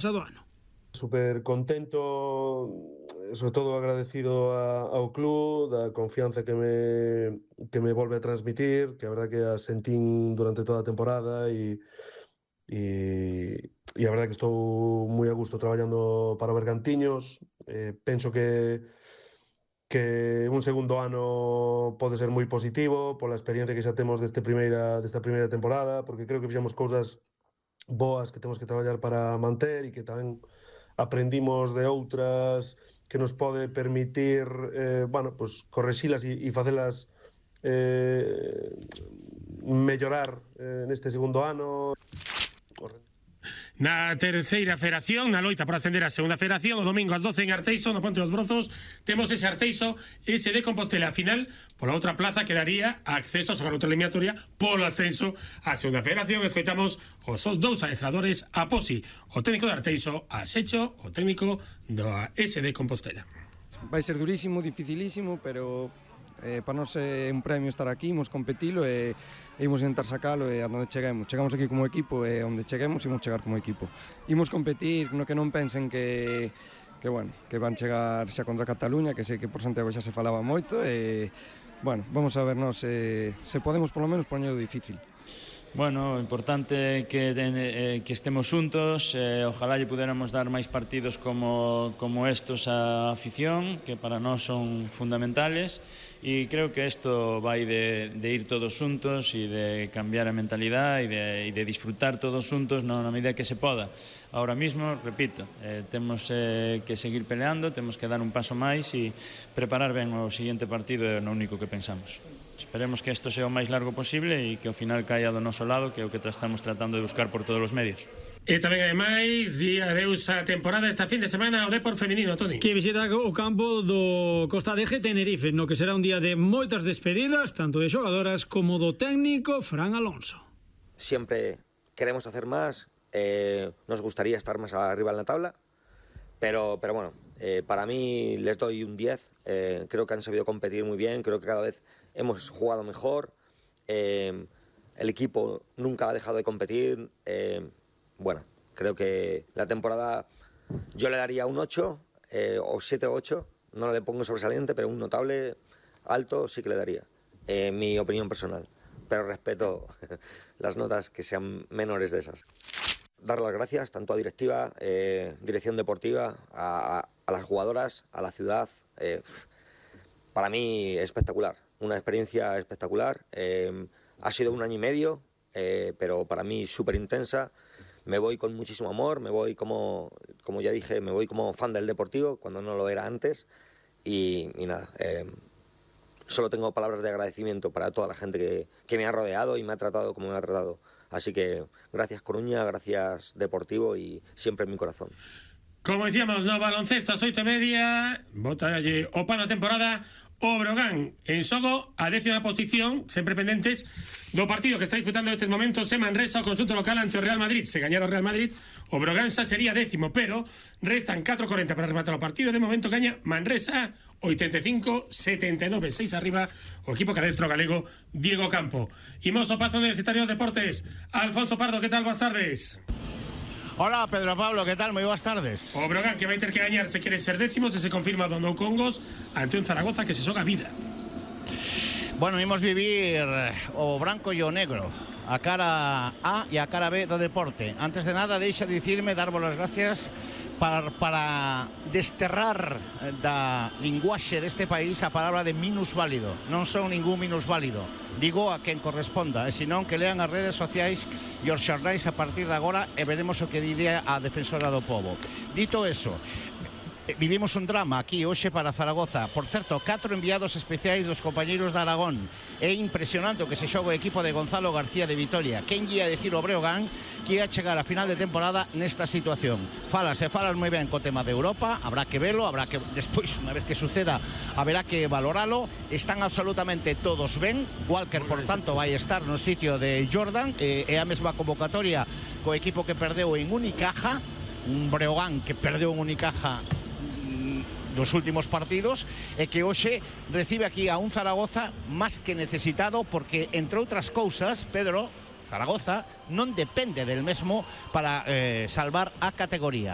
pasado ano. Super contento, sobre todo agradecido ao club da confianza que me volve a transmitir, que a verdad que a sentín durante toda a temporada e a verdad que estou moi a gusto traballando para Bergantiños. Penso que un segundo ano pode ser moi positivo pola experiencia que xa temos desta primeira temporada, porque creo que fixemos cousas boas que temos que traballar para manter e que tamén aprendimos de outras que nos pode permitir pues, correxilas e facelas mellorar neste segundo ano. Na terceira federación, na loita por ascender a segunda federación, o domingo ás 12 en Arteixo, no Ponte dos Brozos, temos ese Arteixo, ese de Compostela. A final, pola outra plaza, quedaría acceso a xogar outra eliminatoria polo ascenso a segunda federación. Escoitamos os dous adestradores, a Posi, o técnico de Arteixo, a Secho, o técnico do SD Compostela. Vai ser durísimo, dificilísimo, pero para nós é un premio estar aquí, imos competilo e imos intentar sacalo e a onde cheguemos. Chegamos aquí como equipo e onde cheguemos imos chegar como equipo. Imos competir, no que non pensen que van chegar xa contra Cataluña, que sei que por Santiago xa se falaba moito e, vamos a vernos se podemos por lo menos poñelo difícil. Bueno, o importante é que estemos xuntos, ojalá lle puderamos dar máis partidos como estos á afición, que para nós son fundamentales, e creo que isto vai de ir todos xuntos e de cambiar a mentalidade e de disfrutar todos xuntos na medida que se poda. Ahora mismo, repito, temos que seguir peleando, temos que dar un paso máis e preparar ben o seguinte partido, é o único que pensamos. Esperemos que isto sea o máis largo posible e que ao final caia do noso lado, que é o que estamos tratando de buscar por todos os medios. E tamén, ademais, di adeus a temporada esta fin de semana ao Depor feminino, Toni. Que visita o campo do Costa de Tenerife, no que será un día de moitas despedidas, tanto de xogadoras como do técnico Fran Alonso. Siempre queremos hacer más, nos gustaría estar más arriba en la tabla, pero bueno, para mí les doy un 10, creo que han sabido competir muy bien, creo que cada vez hemos jugado mejor, el equipo nunca ha dejado de competir, creo que la temporada yo le daría un 8 o 7 o 8, no le pongo sobresaliente, pero un notable alto sí que le daría, mi opinión personal, pero respeto las notas que sean menores de esas. Dar las gracias tanto a directiva, dirección deportiva, a las jugadoras, a la ciudad. Para mí espectacular, una experiencia espectacular. Ha sido un año y medio, pero para mí súper intensa. Me voy con muchísimo amor, me voy como ya dije, me voy como fan del Deportivo, cuando no lo era antes. Y nada, solo tengo palabras de agradecimiento para toda la gente que me ha rodeado y me ha tratado como me ha tratado. Así que gracias Coruña, gracias Deportivo y siempre en mi corazón. Como decíamos, no baloncesto, ás 8:30, botalle o pano a temporada, o Brogan en xogo a 10ª posición, sempre pendentes do partido que está disputando nestes momentos en Manresa, o conxunto local ante o Real Madrid. Se gañara o Real Madrid, o Brogan xa sería 10º, pero restan 4:40 para rematar o partido. De momento gaña Manresa 85-79, 6 arriba o equipo cadestro galego Diego Campo. Imos ao Pazo Universitario de Deportes. Alfonso Pardo, que tal? Boas tardes. Hola Pedro Pablo, ¿qué tal? Muy buenas tardes. O Brogan que vai ter que gañar se quere ser 10º, se confirma do Nou Congos ante un Zaragoza que se xoga vida. Bueno, imos vivir o branco e o negro, a cara A e a cara B do deporte. Antes de nada, deixa de dicirme, darvos as gracias para desterrar da linguaxe deste país a palabra de minusválido. Non son ningún minusválido, digo a quen corresponda, e senón que lean as redes sociais e os xornais a partir de agora e veremos o que diría a defensora do povo. Dito eso, vivimos un drama aquí hoxe para Zaragoza. Por certo, 4 enviados especiais dos compañeiros de Aragón. É impresionante o que se xoga o equipo de Gonzalo García de Vitoria. Quen guía a decir o Breogán que ia chegar a final de temporada nesta situación? Falas moi ben co tema de Europa, habrá que velo, habrá que despois, unha vez que suceda, haberá que valoralo. Están absolutamente todos ben. Walker, por tanto, vai estar no sitio de Jordan, é a mesma convocatoria co equipo que perdeu en Unicaja, un Breogán que perdeu en Unicaja dos últimos partidos, e que hoxe recibe aquí a un Zaragoza máis que necesitado, porque, entre outras cousas, Pedro, Zaragoza non depende del mesmo para salvar a categoría.